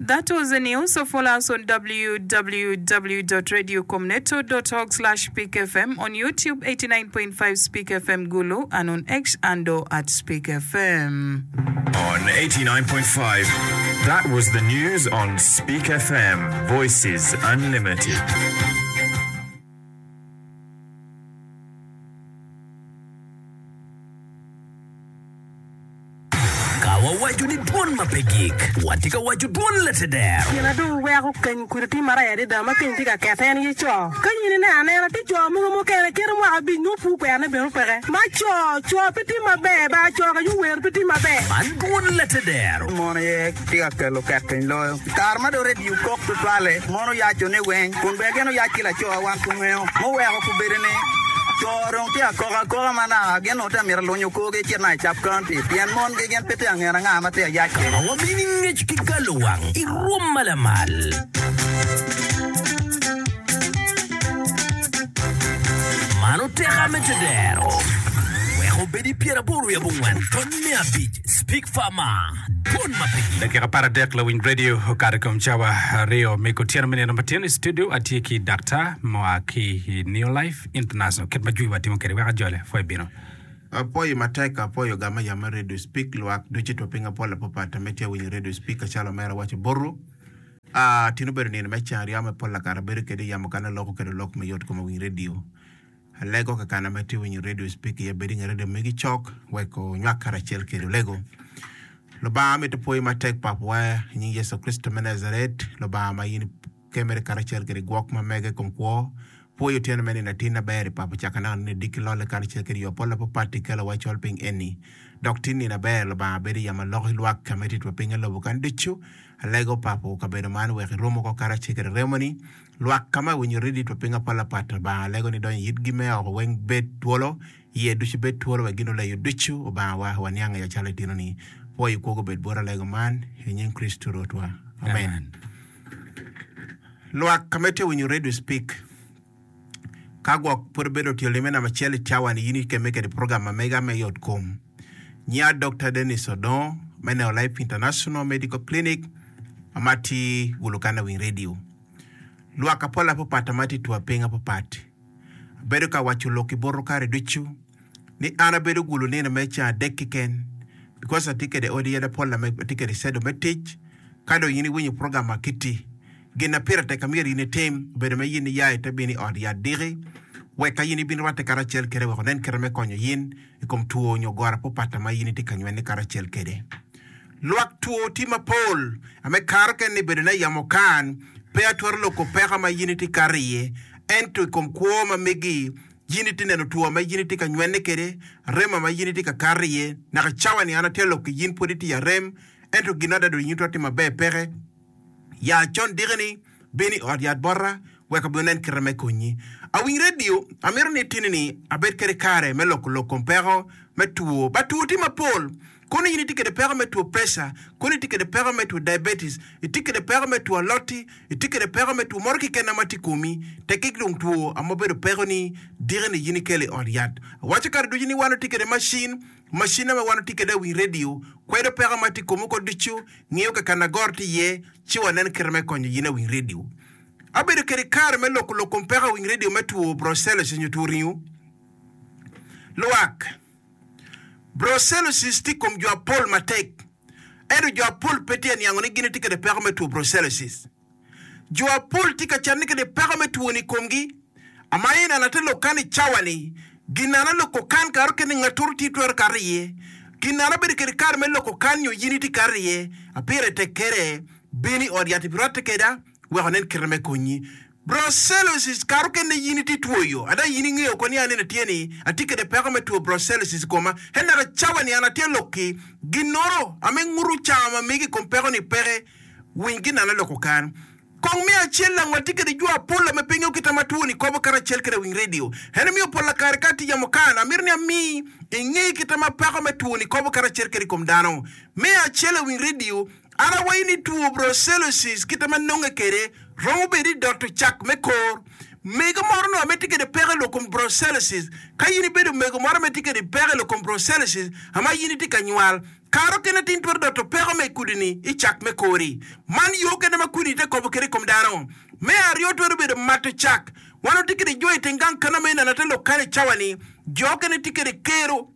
That was the news. So follow us on www.radiocomneto.org slash speakfm, on YouTube 89.5 Speak FM Gulu, and on X handle at Speak FM. On 89.5, that was the news on Speak FM, Voices Unlimited. Ka wawaco ni dwon ma pe gik, watye ka waco dwon lateder. Gin a dong weko keny kudi tye marac adada ma keny tye ka kete en aye co. Ka in ineno anena, tye co mogo mukene kite mwaka abic nongo pur kwerone bene peke. Ma co, co pe tye maber ba, co ka yuwer pe tye maber. Man dwon lateder. Mon aye tye ka kelo ket piny loyo. I kare ma dong redio kok tutwalle, mon oyaco ni weng, kun bene gin oyac ki laco wan pe wangeyo. Muweko gubedo ni co dong tye ka kok akoka ma naka gin onongo tye ka mito lunyo korgi ecit naka i Cap County pien mongi gin pe tye ka ngene anga ma tye ka yac kwede. Ma wamini ngec ki galowang i rwom ma lamal. Man oteka me tedero. Wek obed i pyeraboro wiye abongwen tony me abic Speak Farmer, Dwon ma pe gik. Dakika 13 lawiny radio okato i kom cawa aryo me kutyeno me nino matin i studio atye ki daktar mua ki i New Life International kit ma jwi watimo kwede wek ajole pwoyo bino. Apwoyo matek apwoyo gama yam me radio speak lwak ducu two piny apol apapat ame tye awinyo radio speak acalo omera waco botu aa tin obedo nino me ceng aryo me pol lakara abedo kede yamo kane aloko kede lok me yot kom awiny radio Alego kakana ma itye winyo radio speak iye bed inge radio megi cok wek onywak karacel kedi olego. Lubanga amito pwoyi matek Papawa i nying Yecu Kricito me Nazaret, Lubanga ma in ikemere karacel kede gwok ma mege i kom kwo. Pwoyi otyeno me nino atin aber i Papa caka naka nino diki lolle karacel kede yo pol apapat ikelo wa col piny eni. Dok tin nino aber Lubanga bedo i yamo alok i lwak ka me titwa piny alobo kan ducu. Alego Papo kabedo man wek irom oko karacel kede remoni. Lwak ka ma winyo ridit wa piny apalapat, Lubanga alego ni donyo i itgi me oko weng bed twolo, iye ducu bed twolo wek gin oleyo ducu, Obanga wa, waniang iye calo itino ni. Pwoyo kwogo obed bot alego man, i nying Kricito Rwotwa. Amen. Lwak ka ma itye winyo radio speak, ka gwok pud ibedo tye lime namba acel i cawa ni in ikemme kede program ma mega me yot kom. Nyiya Dokta Dennis Odongo me Neo Life International Medical Clinic ma tye Gulu Kana Winy Radio. Lwak apol apapat ma tye i twa piny apapat abedo ka waco lok i botwu kare ducu ni an abedo gulu nino me ceng adek keken because atye kede odi yadi apol ame atye kede cedo me tic ka dong in iwinyo program akiti gin na pire tek amyero in itim obedo me yin iya ite bino i ot yat diki wek ka yin ibin rwatte karacel kede wek onen kite me konyo yin i kom two nyo goro apapat ma in itye ka nywene karacel kede. Lwak two tye mapol ame kato kene ni bedo ne yamo kan pe atwero loko peko ma yin itye kato iye ento i kom kwo ma megi yin itye neno two ma yin itye ka nywene kede arem ma yin itye ka kato iye naka cawa ni an atye loko yin pwod itye i arem ento gin adada yin twero timo maber peke Ya con diki-ni, bin i ot yat bota, wek abin onen kite me konyi. Awiny redio, amito ni itini-ni abed kede kare me loko lok kom peko me two. Ba two tye mapol. Kono in itye kede peko me two preca, kono itye kede peko me two diabetes, itye kede peko me two alot-ti, itye kede peko me two moro keken ma tye i komi, tekki dong two ma obedo pekoni, diki-ni in ikelo i ot yat. Awaco kare ducu ni wan watye kede macin, macin ma wan watye kede awiny redio, kwedo peko ma tye i komi woko ducu, Ngiyo ka kan agoro tye iye, ci wanen kite me konyo yin awiny redio. Abedo kede kare me loko lok kom peko awiny redio me two brucellosis nyo two ringo. Lwak. Brucellosis tye i kom jo apol matek, ento jo apol pe tye aniango ni gin gitye kede peko me two brucellosis. Jo apol tye ka canne kede peko me twoni i komgi. Ama ineno ate lok kan i cawa-ni, ginana loko kan kare okene ngatoro tye twero kato iye. Ginana bedo kede kare me loko kan nyo yin itye kato iye. Apire tek kede, bin i ot yat ibirwatte keda wek onen kite me konyi. Brucellosis kare okene yin itye twoyo. Ada yin ingeyo ko ni an nene tye ni atye kede peko me two brucellosis i koma. He naka cawa-ni an atye lok-ki ginoro ame nguto cawa ma megi i kom peko-ni peke. Winy ginana loko kan. Kong me acel lang watye kede jo apol ame pe ngeyo kita ma twoni kobo karacel kede winy radio. En omiyo pola kare ka atye yamo kan, amito ni ami inge kita ma peko me twoni kobo karacel kede i kom dano. Me acel awiny radio, an awayi ni two brucellosis kita ma nonge kede romo bedo i doto cak me kor. Mego moro nongo ame tye kede peko i lok kom brucellosis. Ka in ibedo mego moro ame tye kede peko i lok kom brucellosis ama in itye ka nywal. Kare okene atin twero doto peko me kudi-ni i cak me kori. Man yo kene ma kudi-ni te kobo kwede i kom dano. Me aryo twero bedo mato cak. Wan watye kwede jo i teng gang kana ma ineno ate lok kany i cawa-ni. Jo okene tye kwede kero.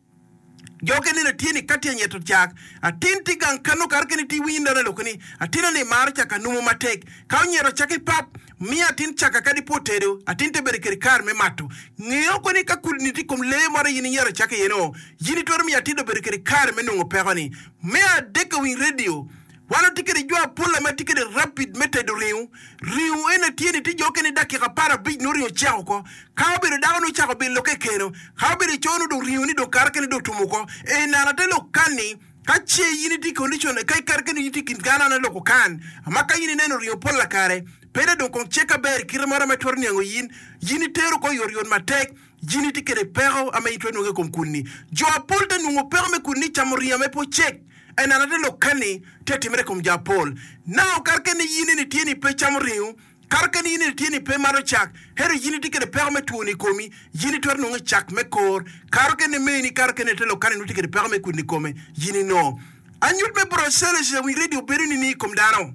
Jo okene neno tye ni ka tye anyeto cak, atin tye gang kano kare okene tye iwinyo dano loko ni atina ni maro cak anumo matek. Ka onyeto cak i pap, Miyo atin cak kadi pe otedo, atin te bedo kede kare me mato. Ngeyo ko ni ka kudni tye i kom lee moro in inyero cak iye no, yin itwero miyo atin obedo kede kare me nongo peko ni. Me adek awiny radio, wan watye kede jo apola ma tye kede rapid me tedo ringo. Ringo eni tye ni tye jo okene dakika aparabic nongo ringo ocek oko. Ka obedo dako nongo ocako bilo kekeno, ka obedo ico nongo dong ringo ni dong kare kene dong otum oko. Eni ate lok kani. Ka ce in itye i condition, ka kare kene in itye i kin dano an aloko kan, ma ka in ineno ringo pol lakare, pe da dong kong cek aber i kite moro ma itwero niango in, in itero oko oyotoyot matek, in itye kede peko ame in itwero nwongo i kom kuni. Jo apol te nwongo peko me kuni ni camo ringo ame pe ocek. En an ate lok kani tye atimere i kom jo apol. Now kare kene in eni tye ni pe camo ringo, Kare kene in itye ni pe imato cak, ento in itye kede peko me twoni i komi, in itwero nongo cak me kor. Kare kene meni, kare kene ite lok kane nongo tye kede peko me kwidni i kome, in inongo. Anyut me brucellosis awiny radio bedo nining i kom dano?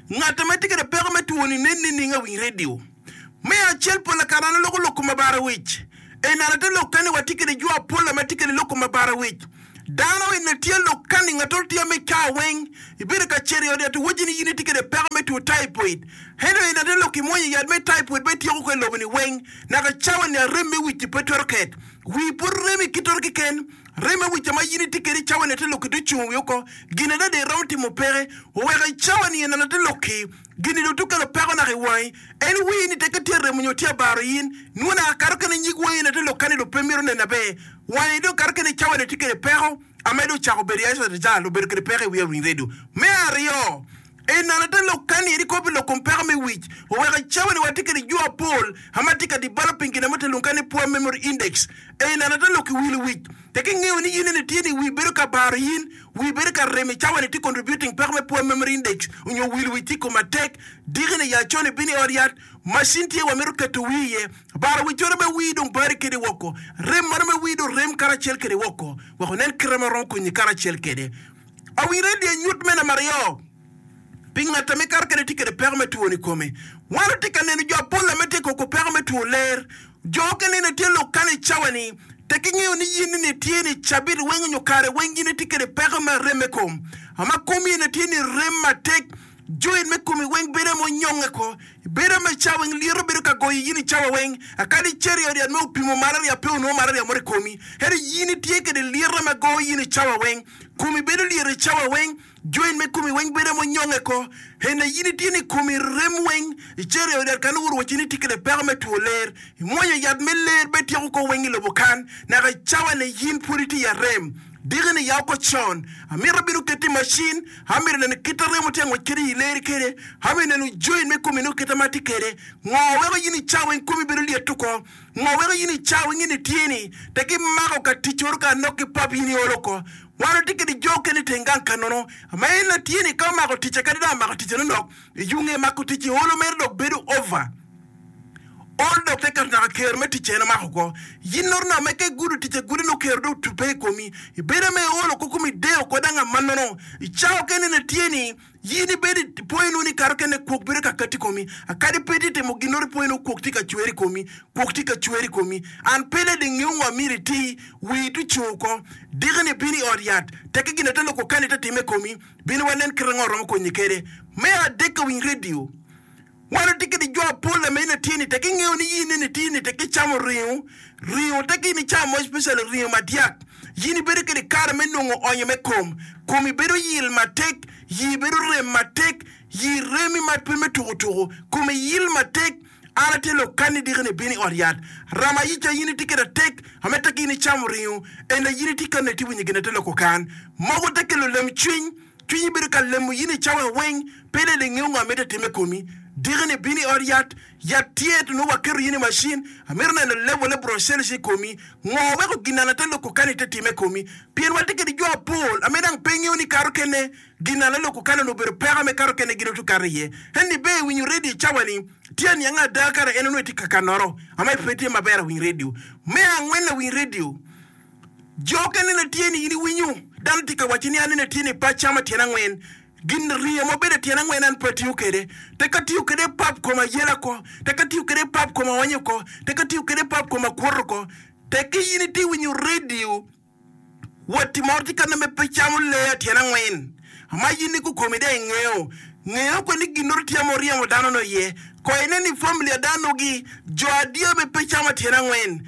Ngat ma tye kede peko me twoni nen nining awiny radio? Me acel pol kare an aloko lok kom abara wic. Enana te lok kane watye kede jo apola ma tye kede lok kom abara wic. Dano eni tye lukani ngatoro tye me caa weng ibedo ka cito i ot yat owaci ni in itye kede peko me two typhoid ento in ate lok imwonyo yat me typhoid pe tyeko ko i lobo ni weng naka cawa ni arem me wic-ci pe twero ket wii pud remi kitoro keken rem me wic ma in itye kede cawa ni ate lok-ki ocung wi oko gin adada iromo timo peke oweko i cawa ni en ate lok-ki gini dong tukelo peko naka i wangi en wii ni teke tye remo nyo tye abaro in nwo naka kato kene nyig wangi ate lok kani dong pe mito neno aber Wange dong kato kene cawa ni tye kede peko amedo ocako bedo i Acal obedo kede peko i wiye ring redio. Me aryo, enano te lok kani eri kopi lok kom peko me wic oweko i cawa ni watye kede jo apol ama tye ka developing gin amo te lung kani poor memory index. Enano te lok i wilo wic te ki ngeyo ni in eni tye ni wi bedo ka baro in, wi bedo ka rem i cawa ni tye contributing peko me poor memory index onyo wilo wic tye i kom matek diki ni ya con ibino i ot yat Macin tye wamito keto wii iye. Baro wi coro me wii dong bari kede woko. Rem mano me wii dong rem karacel kede woko. Wek onen kite ma romo konyi karacel kede. Awire dye nyut me namba aryo pi ngat ame kato kede tye kede peko me two i kome. Wan watye ka neno jo apol ame tye koko peko me two ler. Jo okene ni tye lok kano i cawa ni tek ingeyo ni yin ni tye ni cabit weng onyo kare weng yin itye kede peko me arem me kom. Ama komi ene tye ni rem matek. Joint me komi weng bedo ma onyonge ko, bedo me cawa weng lyeto bedo ka goyo yin i cawa weng. Akadi icito i ot yat me opimo malaria pe onongo malaria moro i komi, ento yin itye kede lyeto ma goyo yin i cawa weng. Komi bedo lyet i cawa weng, joint me komi weng bedo ma onyonge ko. Ena yin itye ni komi rem weng, icito i ot yat kano woro wacci ni itye kede peko me two ler, imwonyo yat me ler be tyeko ko weng i lobo kan, naka i cawa ni yin pwod itye i arem. Diki-ni ya oko con, amito bino keti i macin, amito neno kit a remo tye ka ngwec kede i leri kede, amito neno joint me komi nongo kite ma tye kede. Ngo weko in i cawa weng komi bedo lyet oko? Ngo weko in i cawa weng in itye ni tek imako ka tic oro ka anok ki pap in iolo oko? Wan watye kede jo okene i teng gang ka nono ma en latye ni ka omako ticce kadi dong amako ticce nonok i yunge mako tic i olo mere dok bedo over. Ol dok te keto naka ker me ticce en omako oko. Yin noro naka me ka igudo ticce gude nongo ker dong otubbe i komi. Ibedo ame iol oko komi ideyo oko dang amannono. I cawa okene ne tye ni, yin ibedo i pwoyo nongo ni kare okene kwok bedo ka kati i komi. Akadi pe itye timo ginnoro ipwoyo nongo kwok tye ka cwer i komi, kwok tye ka cwer i komi. An pe dong ingeyo ngo amyero iti, wii to ocung oko. Diki ni bino i ot yat, tekke gin ate loko kani te time i komi, bino wanen kite ngo romo konyi kede. Me adek ka winy radio. Wan watye kede jo apol ame in atye ni tek ingeyo ni in eni tye ni tek icamo ringo, ringo tek in icamo mo especially ringo madyak, in ibedo kede kare me nongo onyo me kom, komi bedo yil matek, yii bedo rem matek, yii remi ma pe me tuku tuku, komi yil matek, an atye lok kani diki ni ibino i ot yat, rama yica in itye kede atek ame tek in icamo ringo, ena in itye kane itye winyo gin ate loko kan, mogo te kelo lem cwiny. Cwinyi bedo ka lemo in i cawa weng, pe dong ingeyo ngo amito atim i komi. Diki-ni bino i ot yat, yat tye ento nongo waketo in i macin. Amito neno level me brucellosis i komi. Ngo weko ginana te loko kani te time i komi? Pien watye kede jo apol ame dang pe ngeyo ni kato kene ginana loko kani onongo obedo peko ame kato kene gin otu kato iye. Ento ibe iwinyo radio i cawa ni, tye aniang ada kare en onongo itye ka kanoro ame pe tye maber awiny radio. Me angwen awiny radio. Jo okene ne tye ni in iwinyo. Dano tye ka wacci ni an eni atye ni pe acamo tyen angwen. Gin ringo ma obedo tyen angwen an pe atiyo kwede. Tek atiyo kwede pap koma yela oko, tek atiyo kwede pap koma onyo oko, tek atiyo kwede pap koma kwoto oko. Tek ki in itye winyo redio, watti moro tye ka nongo pe camo lee tyen angwen. Ma in ni kukomi dong ingeyo. Ngeyo kwe ni ginoro tye ma oryemo dano no iye. Ko inen ni family adanogi jo adier me pe camo tyen angwen.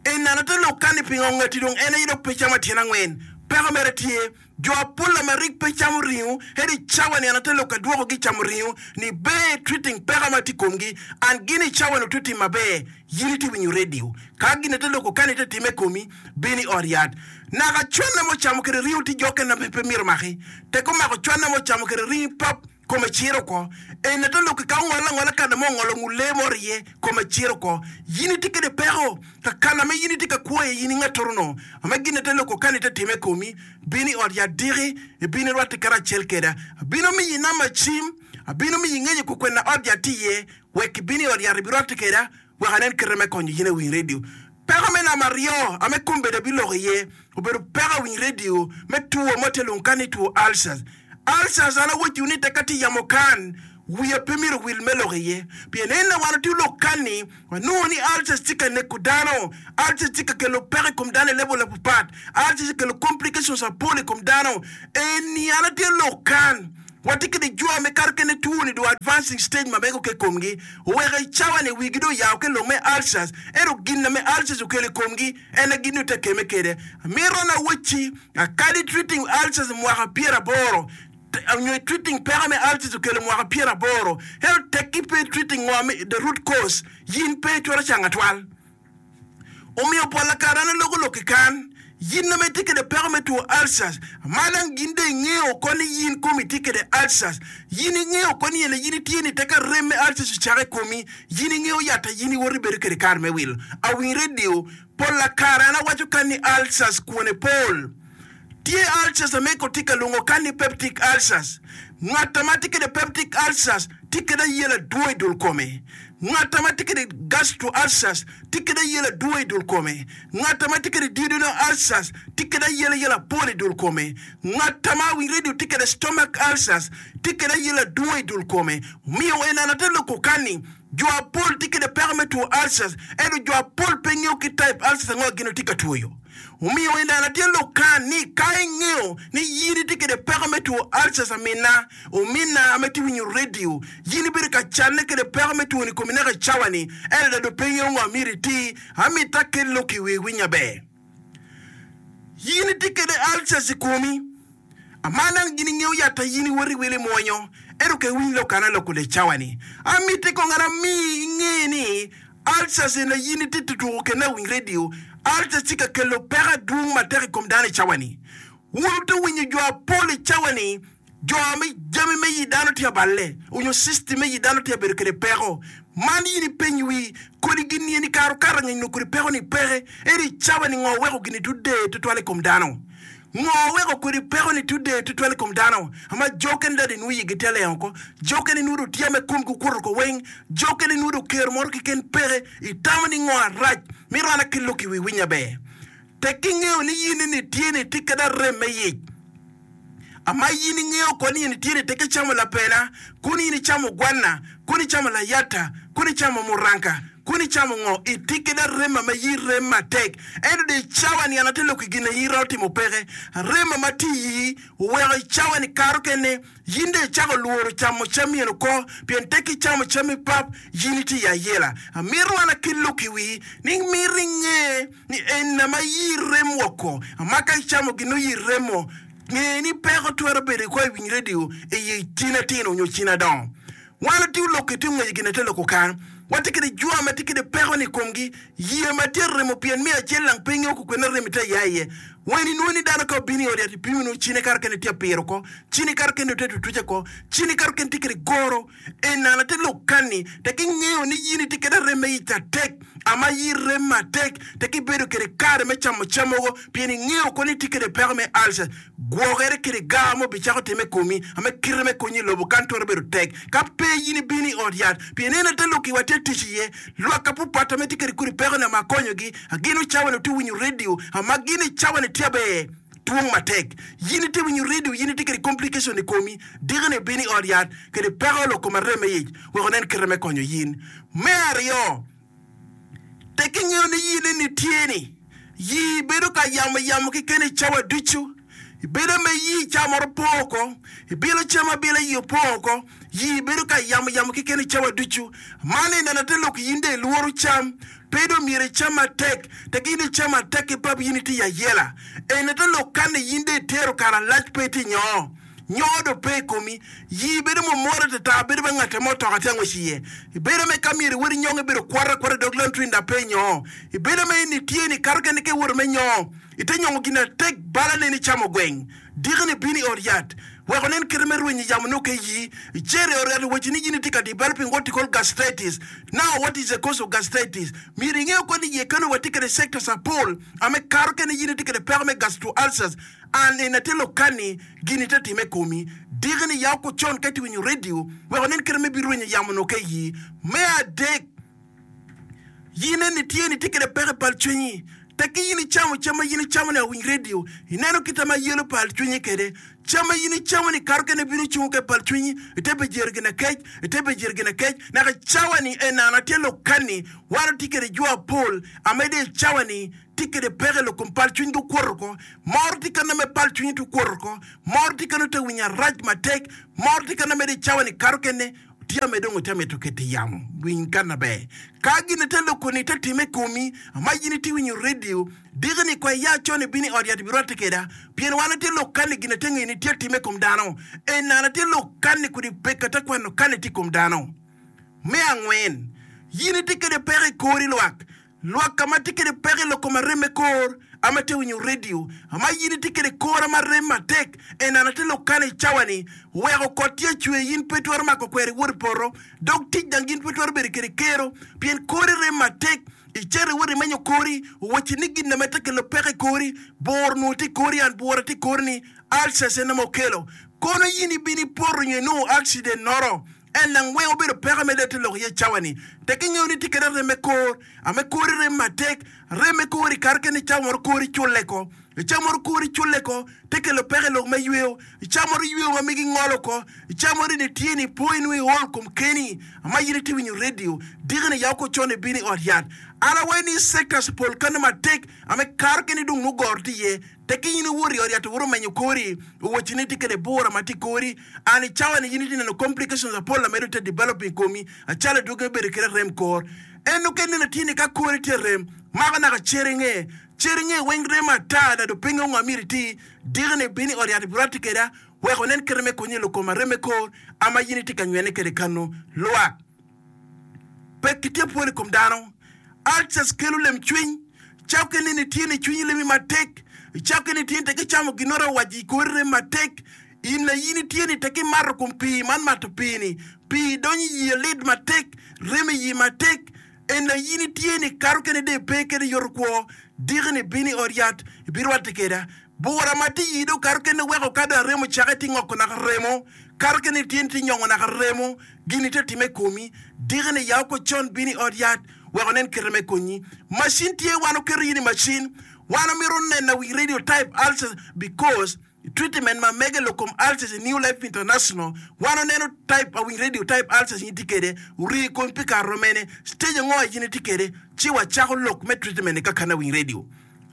Enana te lok kani pingo ngati dong en aye dok pe camo tyen angwen. Peko mere tye. Jo apol ma rik pe camo ringo ento i cawa ni an ate lok adwoko gi camo ringo ni ber treating peko ma tye i komgi and gin i cawa ni otye timo maber yin itye winyo radio ka gin ate loko kani te time komi bin i ot yat naka cwanna mo camo kede ringo tye jo kene ma pe myero omaki tek omako cwanna mo camo kede ringi pap kome ciro oko en ate loko ka ongol angola kana mo ongolo ngut lee moro iye kome ciro oko yin itye kede peko ka kana ma in itye ka kwo iye in ingattoro no ma gin ate loko kani te time komi bin i ot yat diki ibin irwatte karacel keda abino miyi namba cim abino miyi ngeyo kukwena ot yat tye iye wek ibin i ot yat ibirwatte keda wek anen kite me konyo in awiny redio. Peko me namba aryo ame kombeddi abiloko iye obedo peko awiny redio me two mo tye lung kan ni two ulcers. Ulcers an awocciwu ni tek atye yamo kan wiya pe myero owil me lok iye pien en wan watye lok kan ni wanongo ni ulcers tye ka neko dano, ulcers tye ka kelo peko i kom dano i level mapapat, ulcers tye ka kelo complications mapol i kom dano. Eni an atye lok kan. Watye kede jo me kato kene two ni do advancing stage ma mego ke komgi oweko i cawa ni wigi do oyawo ke lok me ulcers ento gin na me ulcers okelo i komgi en aye gin ni ote keme kede. Amito na wacci akadi treating ulcers mwaka 80 nyo i treating peko me ulcers okelo mwaka 80 ento tekki pe i treating ngo me the root cause yin pe itwero cango atwal. Omiyo pol kare an aloko lok ki kan, yin ma itye kwede peko me two ulcers, ma dong gin dong ingeyo oko ni yin komi tye kwede ulcers, yin ingeyo oko ni ene yin itye ni tek arem me ulcers ocake i komi, yin ingeyo yat a yin iwoto ibedo kwede kare me wilo. Awiny radio, pol kare an awaco kan ni ulcers kwone pol. Tye ulcers a mego tye ka lwongo kan ni peptic ulcers. Ngat ma tye kwede peptic ulcers tye kwede ayela adwong i dul kome. Ngat ma tye kwede gastro ulcers tye kwede ayela adwong i dul kome. Ngat ma tye kwede duodenal ulcers tye kwede ayela yela apol i dul kome. Ngat ma wi radio tye kwede stomach ulcers tye kwede ayela adwong i dul kome. Omiyo en ate loko kan ni jo apol tye kwede peko me two ulcers ento jo apol pe ngeyo ki type ulcers ango gin tye ka twoyo. Omiyo i neno tye lukan ni ka ingeyo ni yin itye kwede peko me two ulcers amina, omina ma itye winyo radio, yin ibedo ka canne kwede peko me two ni komi naka i cawa ni, ento adada pe ingeyo ngo myero iti, amito akel lok i wi iwiny aber. Yin itye kwede ulcers i komi. Aman dang gin ingeyo yat a yin iwoto iwilo imwonyo, ento ka iwiny lok an aloko le cawa ni, amiti kong an ami inge ni ulcers eni a yin itye tutuko kene awiny radio, ulcers tye ka kelo peko adwong matek i kom dano i cawa ni. Wun wute winyo jo apol i cawa ni jo me jami me yi dano tye aballe onyo system me yi dano tye abedo kede peko. Man yin ipeny wi kodi gin ni eni kare okato angec nongo kodi peko ni peke, ento i cawa ni ngo weko gini tude tutwal i kom dano? Ngo weko kodi peko ni tude tutwal i kom dano? Ma jo kene dadi nwo yigi te lengo ko, jo kene nwo do tye me komgi okuto ko weng, jo kene nwo do kero moro keken peke. Itamo ni ngo arac? Mito an akel lok i wi winya ber. Tek ki ngeyo ni yin ni tye ni tye kede arem me yic. Ama yin ingeyo ko ni in itye ni tek icamo lapena, kun in icamo gwanna, kun icamo layata, kun icamo muranka, kun icamo ngo, itye kede arema ma iyi rem matek. Ento dong i cawa-ni an atye lok i gin aye iromo timo peke. Arema ma tye i iyi oweko i cawa-ni kato kene yin dong icako lworo camo cam myeno oko, pien tek icamo cam i pap, yin itye i ayela. Amito an akel lok i wii ni mito inge ni en ma iyi rem woko, ma ka icamo gin nongo iyi remo. Nge ni peko twero bedo ikwa i winy redio i cin atino nyo cin adongo. Wan watye lok ki tung ngec gin ate loko kan. Watye kede jwa ma tye kede peko ni komgi, yie ma tye remo pien me acel lang pe ingeyo kukwene rem ite ya iye. Wen inwongo ni dano ka obino i ot yat ipimo nongo cine kato kene tye apiro oko, cine kato kene ote tutuca oko, cine kato kene tye kede goro. Enana te lok kanni tek ingeyo ni yin itye kede rem me ic atek, ama iyi rem matek tek ibedo kede kare me camo cam mogo pien ingeyo ko ni itye kede peko me ulcer. Gwokere kede gar mo bicako time i komi ame kite me konyi i lobo kan twero bedo tek ka pe yin ibino i ot yat pien en ate lok iwa tye tic iye. Lwak apupat ame tye kede kodi peko ni ama akonyogi agino cawa ni otye winyo radio ama gin i cawa ni tye aber. Twong matek. Yin itye winyo radio, yin itye kede complication i komi, diki ni ibino i ot yat kede peko lok kom arem me ic wek onen kite me konyo yin. Me aryo, tek ingeyo ni yin eni tye ni yii bedo ka yamo yamo keken i cawa ducu. Ibedo me yii cawa moro po oko, ibilo cam abila yii opo oko, yii bedo ka yamo yamo keken i cawa ducu. Man ineno ate lok yin dong ilworo cam. Pe dong myero icam matek, tek in icam matek ki pap yin itye i ayela. Eni te lok kan ni yin dong itero kare alac pe itye nyoo. Nyoo dong pe i komi. Yii bedo mumore atata bedo ma ngate mo otoka tye angwec iye. Ibedo me ka myero iwot inyonge bedo kwota akwota i dog lantrin dok pe inyoo. Ibedo me in itye ni kato kene ka iwoto me nyoo ite nyongo gin atek bala neni icamo gweng. Diki-ni bino i ot yat wek onen kite me rwenyo yamo nongo ka iyi. Icito i ot yat owacci ni in itye ka developing what you call gastritis. Now what is the cause of gastritis? Myero inge kong ni iye keno watye kede sectors apol ame kato kene in itye kede peko me gastro ulcers and in atir lokani gini te time komi. Diki-ni ya oko con ka itye winyo radio wek onen kite me birwenyo yamo nongo ka iyi. Me adek, In eni tye ni itye kwede peko i pal cwinyi. Tekki in icamo cam ma in icamo ni awiny redio, ineno kite ma yelo pal cwinyi kwede. Cam ma in icamo ni kato kene bino cungo ke pal cwinyi, ite bejero gin akec, ite bejero gin akec, naka i cawa ni enana tye lokani. Wan watye kwede jo apol amede i cawa ni tye kwede peko i lok kom pal cwiny gi okwoto oko. Moro tye kene me pal cwinyi tye okwoto oko, moro tye kene te winyo arac matek, moro tye kene mede i cawa ni kato kene Tye me dong ite mito keto i yamo, winy kan maber. Ka gin ite loko ni ite time i komi, ama in ite winyo redio, diki ni kwa iya con ibino i ot yat ibirwatte keda, pien wan ite lok kan ni gin ate ngeyo ni tye time i kom dano. Enana ite lok kan ni kodi pek ate kwano kan ni tye i kom dano. Me angwen, yin ite kede peko i kori lwak. Lwak ka ma tye kwede peko i lok kom arem me kor, ama tye winyo redio, ama in itye kwede kor ama rem matek, enana te lok kane i cawa ni, weko kot tye cwer in pe itwero mako kweri iwot i poto, dog tic dang in pe itwero bedo kwede kero, pien kori rem matek, icito iwot imenyo kori, owacci ni gin ma tye kelo peko i kori, bur onongo tye i kori and bura tye i kori ni, ulcers en ma okelo, kono in ibino ipoto nyo inongo accident noro, En nang weng obedo peko me lete lok iye cawa ni. Tek ingeyo ni tye kede rem me kor, ame kori rem matek, rem me kor i kare kene cawa moro kori culle ko. I cawa moro kori culle ko, te kelo peko i lok me yweyo. I cawa moro yweyo ma megi ngolo ko. I cawa moro in itye ni po inongo iol kom keni, ama in itye winyo radio, diki ni yaw ko con ibino i ot yat. An awaco ni sectors pol kano matek ame kare kene dong nongo goro tye iye. Tek in iwot i ot yat iwoto menyo kori, owacci ni itye kede bura ma tye i kori, and i cawa ni in itye neno complications apol amedo tye developing i komi, acalo adwogi me bedo kede rem kor. En okene neno tye ni ka kori tye rem, mako naka cer inge, cer inge weng rem ata na dong pe ingeyo ngo myero iti, diki ni ibino i ot yat ibirwatte keda wek onen kite me konyi i lok kom arem me kor ama in itye ka nywene kede kanu. Lwak. Pekki tye pol i kom dano. Ulcers kelo lemcwiny. Cakke ni nitye ni cwinyi lemi matek. Cakke ni tye ni tek icamo ginoro owaco i kori rem matek. In na in itye ni tek imato kom pii man mato pii ni pii donyo i yie lit matek rem i yii matek. En na in itye ni kato kene de pe kede yoto kwo. Diki ni bino i ot yat ibirwatte keda. Bura ma tye i dog kato kene weko ka dong arem ocake tye ngoko naka remo, kato kene tye ni tye nyongo naka remo, gin tye time i komi, diki ni yaw ko con bino i ot yat wek onen kite me konyi. Macin tye wan oketo in i macin, wan omito neno wi radio type ulcers because treatment ma mege lok kom ulcers i New Life International wan oneno type awiny radio type ulcers in itye kede ori i komi pi kare romene, stage ango in itye kede ci wacako lok me treatment ni kakane awiny radio.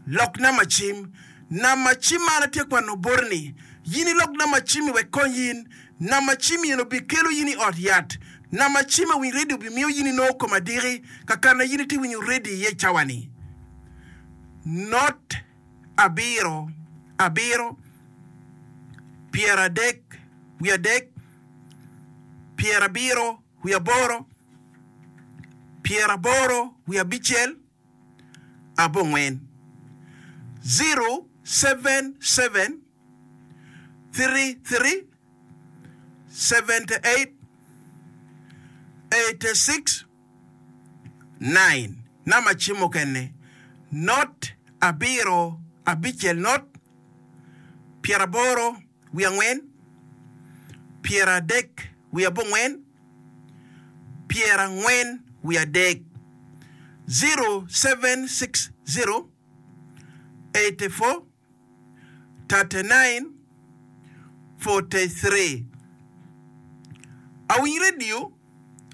Lok namba cim. Namba cim ma an atye kwano boti ni, yin ilok namba cimmi wek kony in. Namba cim eni obikelo yin i ot yat. Namba cim awiny redio obimiyo yin inongo kom adiki ka kana yin itye winyo redio iye cawa ni. Not abiro abiro pyerade wiadek pyerabiro wiaboro pyeraboro wiabicel. abongwen, 077 33 78 86 9 Namba cim mukene, not abiro abicel not pyeraboro wiye angwen pyeradek wiye abongwen pyerangwen wiye adek, 0760 84 39 43. Awiny redio,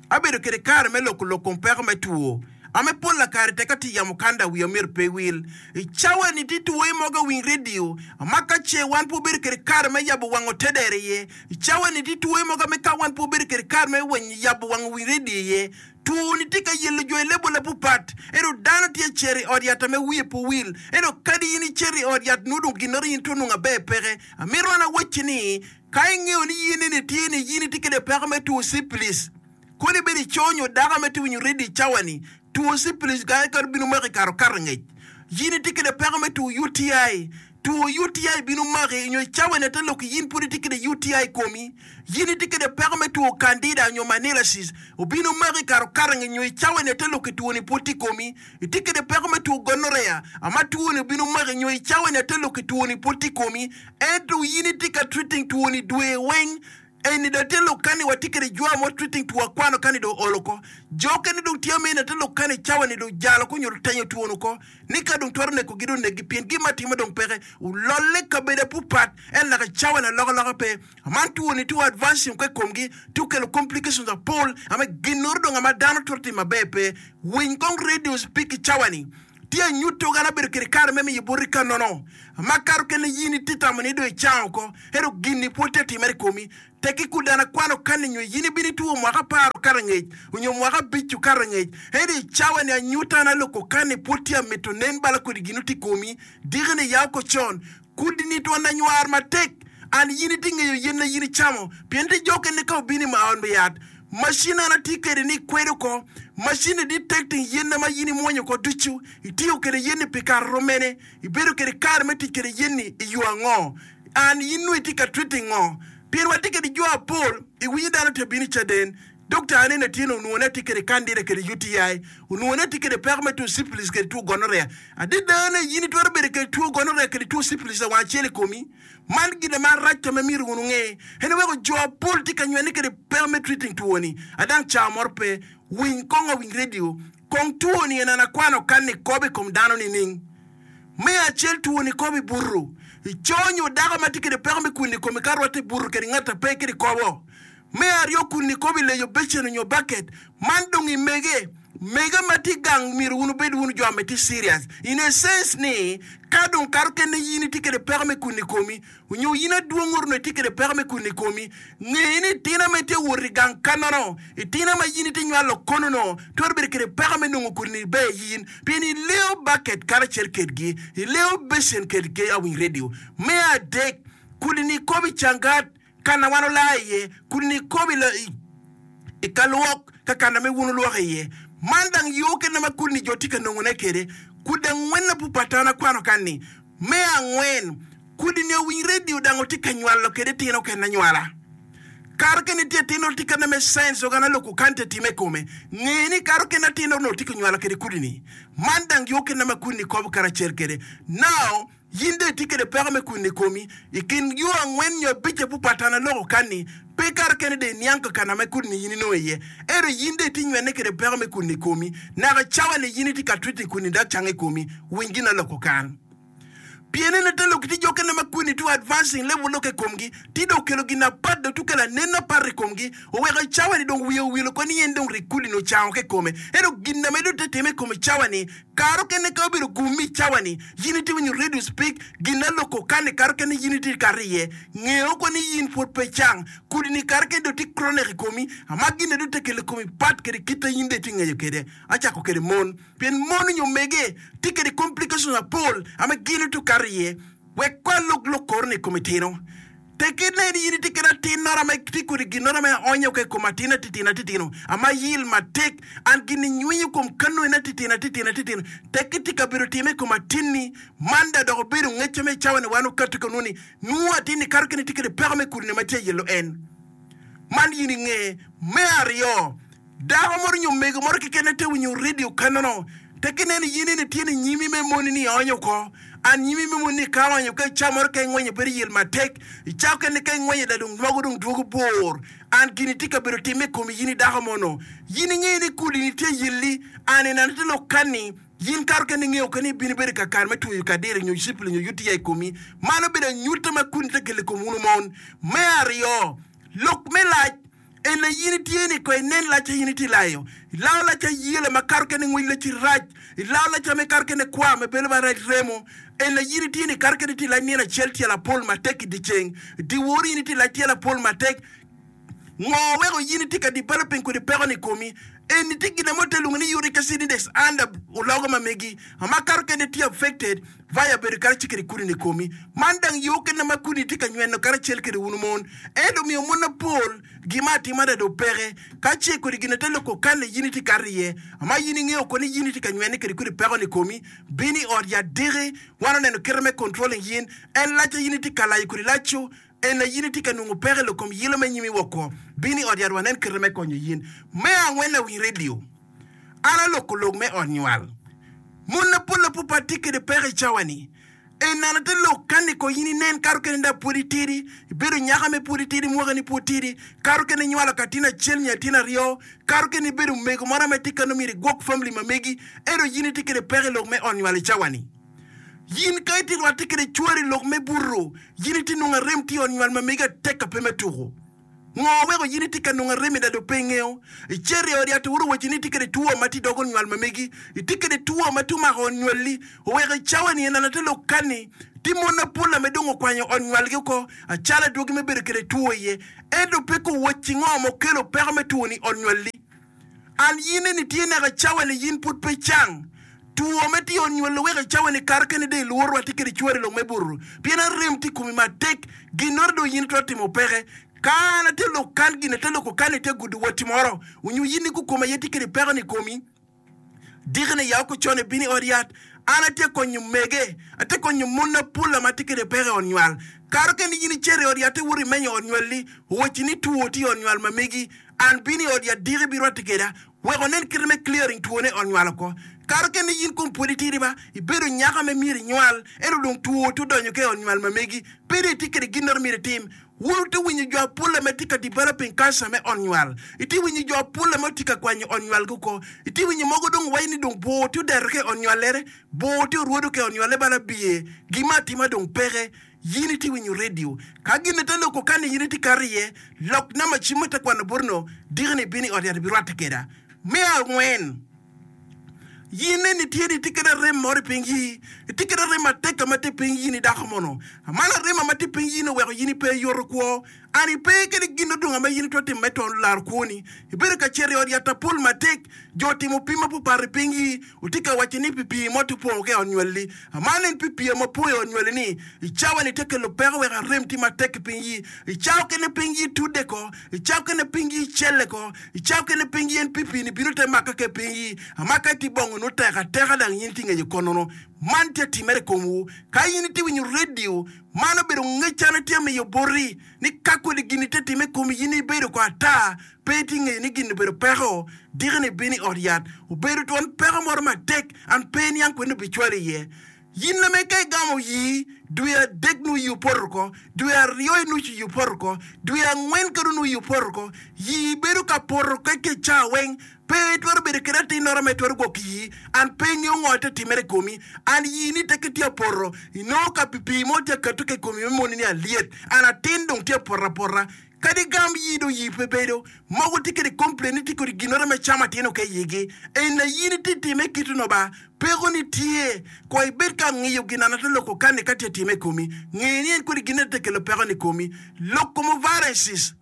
abedo kede kare me loko lok kom peko me two ame pol lakare tek atye yamo kanda wiya myero pe wil. I cawa ni tye two mogo awiny redio ma ka ce wan pe obedo kede kare me yabo wang otedere iye. I cawa ni tye two mogo ame ka wan pe obedo kede kare me yabo wang owiny redio iye. Two-ni tye ka yelo jo i lebola pupat, ento dano tye cito i ot yat ame wiye pe owil. Ento kadi in icito i ot yat nongo dong ginnoro in twero nongo aber peke. Amito an awacci ni, ka ingeyo ni in eni tye ni in itye kede peko me two cipilis, kodi ibedo ico nyo dako ame tye winyo redio i cawa-ni, two cipilis kare kare bino maki kare okato angec. In itye kede peko me two UTI, Two UTI bino maki nyo i cawa-ni ate lok in pud itye kede UTI i komi. In itye kede peko me two Candida nyo Manilasis obino maki i kare okato-ngi nyo i cawa-ni ate lok two-ni pud tye i komi. Itye kede peko me two Gonorrhea ama two-ni obino maki nyo i cawa-ni ate lok two-ni pud tye i komi. Ento in itye ka treating two-ni dwe weng. Eni dong tye lok kani watye kede jwa mo treating two akwano kani dong olo oko. Jo okene dong tye amene te lok kani cawa ni dong jalo oko nyo tenyo twon oko ni ka dong twero neko gi dong negi pien gin ma atima dong peke. Ololle kabedo apupat en laka cawa ni aloka loka pe. Aman two ni two advancing oko ikom gi two kelo complications apol ame ginoro dong ama dano twero timo maber pe. Winy kong radio speak cawa ni. Tye anyuto an abedo kede kare me miyo boti ka nono, makato kene in itye tamo ni dong icango oko, ento gin-ni pwod tye atimere i komi. Tekki kudana akwano kanni nyo in ibino itwo mwaka apar okato angec, onyo mwaka abic okato angec, ento i cawa-ni anyuto an aloko kanni pwod tye amito nen bala kodi gin otye i komi, diki-ni ya oko con. Kudi-ni twon anywar matek, an in itye ngeyo yen na in icamo, pien tye jo okene ka obino i ot me yat, macin an atye kwede ni ikwedo oko, macin-ni detecting yen ma in imwonyo oko ducu, itiyo kwede yen-ni pi kare rom mene, ibedo kwede kare me tic kwede yen-ni i yo ango, an in nongo itye ka treating ngo? Pien watye kwede jo apol, iwinyo dano tye bino i caden, Dokta anene tye ni onwongo ni atye kwede candida kwede UTI, onwongo ni atye kwede peko me two syphilis kwede two gonorrhea. Adada ni in itwero bedo kwede two gonorrhea kwede two syphilis lawang acel i komi. Man gin ma rac ka ma myero wun wunge. En weko jo apol tye ka nywene kwede peko me treating two ni. Adang cawa moro pe. Winy kong awiny radio. Kong two ni en an akwano kan ni kobo i kom dano nining? Me acel two ni kobo i butu. Ico nyo dako ma tye kwede peko me kwini i komi ka rwatte i butu kwede ngat a pe kwede kobo. Me aryo kun nikobo i leyo becen onyo baket, man dong i mege. Mege ma tye gang myero wun wubed wunu jo ame tye serious in a sense ni ka dong kato kene in itye kede peko me kun i komi onyo in adwong oro itye kede peko me kun i komi, nge ni itina ma itye wot i gang kanono, itina ma in itye nywalo kono no twero bedo kede peko me nongo kodi ni ber in pien ileyo baket karacel kedgi, ileyo becen kedgi awiny radio. Me adek kodi nikobo i cangat Kana wan olaa iye, kun nikobo i ka lwok, ka kana me wun wulwoko iye. Man dang yo kene ma kudni jo tye ka nongone kwede. Kudi angwen na pupata an akwano kan-ni. Me angwen, kudini owiny redio dang otye ka nywalo kwede tino kene anywala. Kare kene tye atin tye kana me science ogana loko kan tye time i kome. Nge ni kare kene atin onongo tye ka nywalo kwede kudini. Man dang yo kene ma kudini kobo karacel kwede. Now, In dong itye kwede peko me kwino i komi. I kin yo angwen nyo abicce pupatan aloko kan-ni, pe kare kene dong iniang kakana ma kudni in inongo iye. Ento in dong itye nywenne kwede peko me kwino i komi. Naka cawa-ni in itye ka treating kwini dok cango i komi. Winy gin aloko kan. Pien en ate lok tye jo kene ma kwini tye advancing level lokke i komgi, tye dong okelo gin apat dong tye okelo anen apat i komgi, oweko i cawa-ni dong wiye owil oko ni en dong rik kudni ocango ki i kome. Ento gin na medo te time i kome cawa-ni, Kare okene ka obedo gum i cawa-ni, yin itye winyo radio speak, gin aloko kani kare okene yin itye kato iye. Nge oko ni yin pwod pe icang. Kudi-ni kare kene dong tye chronic i komi, ama gin-ne dong te kelo i komi pat kede kit a yin dong itye ngeyo kede. Acako kede mon, pien mon onyo mege tye kede complications apol ama gin itye kato iye. Wek ko alok lok koro-ni i kom itino. Tekki nen in itye kede atin-noro ame tye kodi ginnoro ame aonyo ka i kom atin atitino atitino ama yil matek, an gin inywenyo kom kano en atitino atitino atitino. Tekki tye kabedo time i kom atinni, man da dok obedo ngecca me cawa ni wan okato ka nwo ni nwo atinni kato kene tye kede peko me kudini ma tye ayelo en. Man in inge. Me aryo, Dako moro nyo mego moro keken te winyo redio kanono, te kineno in eni tye ni nyimi me moni ni ionyo oko. An nyimi me moni ni ka aonyo ka ica moro ka ingwenyo bedo yel matek, ica okene ka ingwenyo da dong mogo dong dwogo bor. An gini tye ka bedo time i komi in i dako mono. In ingeyo ni kudi ni tye yelli, an ineno te lok kani. Yin kato kene ingeyo kene ibino ibedo kakare me tweyo kadiri nyo cipili nyo UTI i komi. Man obedo anyutta ma kudi te kelo i kom wun mon. Me aryo, lok me lac en aye in itye ni ko inen lac a in itye layo. Ilao lac ayela ma kato kene ngwec lacci rac. Ilao lac a me kato kene kwar me bedo marac remo. En aye in itye ni kato kene itye lac nino acel tyelo apol matek i dyeceng. Dyewor in itye lac tyelo apol matek. Ngo weko in itye ka developing kodi peko ni komi? Eni tye gin mo te lwongo ni uric acid index under ologo ma megi ma kato kene tye affected via bedo karacel kede kudi ni komi. Man dang yo kene ma kudi tye ka nyweno karacel kede wunu mon. Ento omiyo mon mapol gima atima adada opeke ka ce kodi gin te loko kane in itye kato iye ma in ingeyo ko ni in itye ka nywene kede kodi peko ni komi. Bin i ot yat diki wan oneno kite me controlling yin en laca in itye ka layo kodi laco En aye in itye ka nongo peko i lok kom yilo me nyimi woko. Bin i ot yat wanen kite me konyo yin. Me angwen lawiny redio. An aloko lok me ot nywal. Mon mapol apupat tye kede peko i cawa ni. En an ate lok kani ko yin inen kato kene nda pwod itidi, ibedo nyaka me pwod itidi mwaka ni pwod tidi, kato kene inywalo ka atin acel nyo atin aryo, kato kene ibedo mego moro ame tye kano myero igwok family ma megi, ento yin itye kede peko i lok me ot nywal i cawa ni. Yin ka itye rwatte kede cwari i lok me buto, yin itye nongo arem tye i ot nywal ma megi atek ka pe me tuko. Ngo weko yin itye ka nongo arem i dado pe ingeyo? Icito i ot yat iworo wacci ni itye kede two ma tye i dog ot nywal ma megi. Itye kede two ma tye omako ot nywalli. Oweko i cawa ni en ate lok kani, tye mon mapol ame dong okwanyo ot nywalgi oko acalo adwogi me bedo kede two iye. Ento pe kuwacci ngo ma okelo peko me two ni i ot nywalli. An yin eni tye naka cawa ni yin pud pe cang. Two me tye onywalo weko icawa ni kare kene dong ilworo rwate kede cwari lok me buto pien arem tye ikomi matek ginoro dong yin itwero timo peke. Ka an atye lok kan gin ate loko kan itye gudo watti moro onyo yin ni kukome aye tye kede peko ni ikomi diki ni yaw kocone ibino i ot yat an atye konyo mege atye konyo mon mapol ma tye kede peko i ot nywal kare kene yin icito i ot yat iwoto imenyo ot nywali owacci ni two tye i ot nywal ma megi An bino i ot yat diki ibirwatte keda wek onen kite me clearing twone i ot nywal oko. Kare kene in kom pwod itidi ba, ibedo nyaka me myero inywal, ento dong two tye odonyo ka i ot nywal ma megi. Pe dong itye kede ginnoro myero itim. Wun wutye winyo jo apolle ma tye ka developing cancer me ot nywal. Itye winyo jo apolle ma tye ka kwanyo ot nywalgi oko. Itye winyo mogo dong waco ni dong bor tye odeto ka i ot nywallere, bor tye orwodo ka i ot nywalle bala biye, gin me atima dong peke. Yin itye winyo redio. Ka gin te loko kani yin itye kato iye, lok namba cim ma te kwano boti no, diki ni ibino i ot yat ibirwatte keda. Me angwen, yin neni itye ni itye kede arem moro i piny yi, itye kede arem matek ka ma tye piny yin i dako mono. Man arem ma tye piny yin oweko yin ipe iyoto kwo. An ipe kede gin odonga ma yin itwero timo me to laro kwoni. Ibedo ka cito i ot yat apol matek, jo otimo pim mapapat i piny yi, Wutye ka waco ni pi pii mo tye opongo ki i ot nywalli. Man en pi pii ma opong i ot nywalli ni, i cawa-ni tye kelo peko wek arem tye matek ki piny yi. I cawa kene piny yi tudde ko, i cawa kene piny yi celle ko, i cawa kene piny yi en pi pii-ni bino te maka ki i piny yi. Amaka itye bongo nongo tek ateka dang in itye ngeyo konono. Man tye timere i komwu. Ka in itye winyo redio, man obedo ngec an atye miyo boti ni ka kodi gin-ni tye time i komi in ibedo ko ata Pe itye ngeyo ni gin obedo peko? Diki-ni ibino i ot yat, obedo twon peko moro matek, an pe iniang kwene obicwali iye. Yin lame ka igamo yii, dwe adek nongo yii opoto oko, dwe aryo i nucu yii opoto oko, dwe angwen kadi onongo yii opoto oko. Yii bedo ka poto keke ca weng, pe itwero bedo kede atin-noro ma itwero gwoko yii, an pe ingeyo ngo tye timere i komi. An yii ni teke tye apoto, inongo ka pi pii mo tye akato ki i komi me moni ni alyet, an atin dong tye apoto apota. Kadi gam yii dong yii pe bedo, mogo tye kede complain ni tye kodi ginoro me camo atin oke iyigi. En na yin itye time kit no ba, peko ni tye. Kwa ibed ka ngiyo gin ana te loko kani ka tye time ikomi. Nge ni en kodi gin te kelo peko ni komi. Lok kom ovarensis,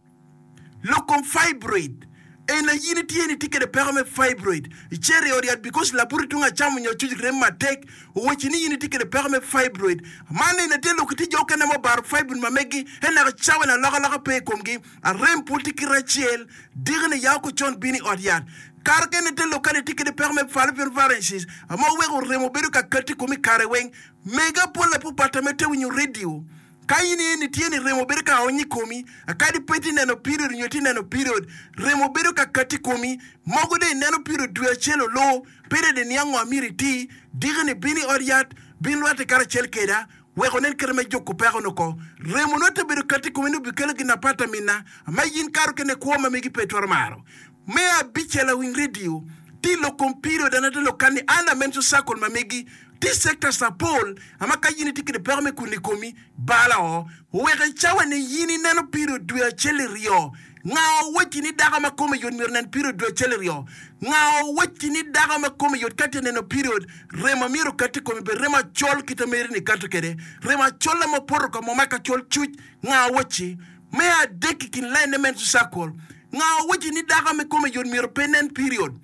lok kom fibroid. En na yin itye ni tye kede peko me fibroid. Icito i ot yat because labuti tung acam onyo acuc rem matek owacci ni in itye kede peko me fibroid. Man eni atye lok itye jo okene ma obaro fibroid ma meggi en naka cawa ni alokaloka pe i komgi. Arem pud tye kite acel diki ni ya oko con bino i ot yat. Kare kene te lok ka ni itye kede peko me fallopian varices ma oweko remo bedo ka kati i komi kare weng. Mege apol apopata me te winyo radio. Ka in iye ni tye ni remo bedo ka ony i komi, kadi pe itye neno period nyo itye neno period, remo bedo ka kati i komi. Mogo dong ineno period dwe acel olu, period iniang ngo amyero iti, diki ni bin i ot yat, bin rwate karacel keda, wek onen kite me juko peko ni oko. Remo nongo te bedo kati i komi ni obikelo gin apat amina ma in kare okene kwo ma megi pe itwero maro. Me abicel lawiny redio. Tye lok kom period an ate lok kan ni under menstrual cycle ma megi tye sectors apol ama ka yin itye kede peko me kuni komi bala o oweko i cawa ni yin ineno period dwe acel iryo nga owacci ni dako ma kome yot myero onen period dwe acel iryo nga owacci ni dako ma kome yot ka tye neno period remo myero okat i komi bed remo acol kite meri ni kato kede remo acol ma opoto ka mo ma ka col cuc nga owacci Me adek i kin lain ne menstrual cycle, nga owacci ni dako me kome yot myero pe nen period?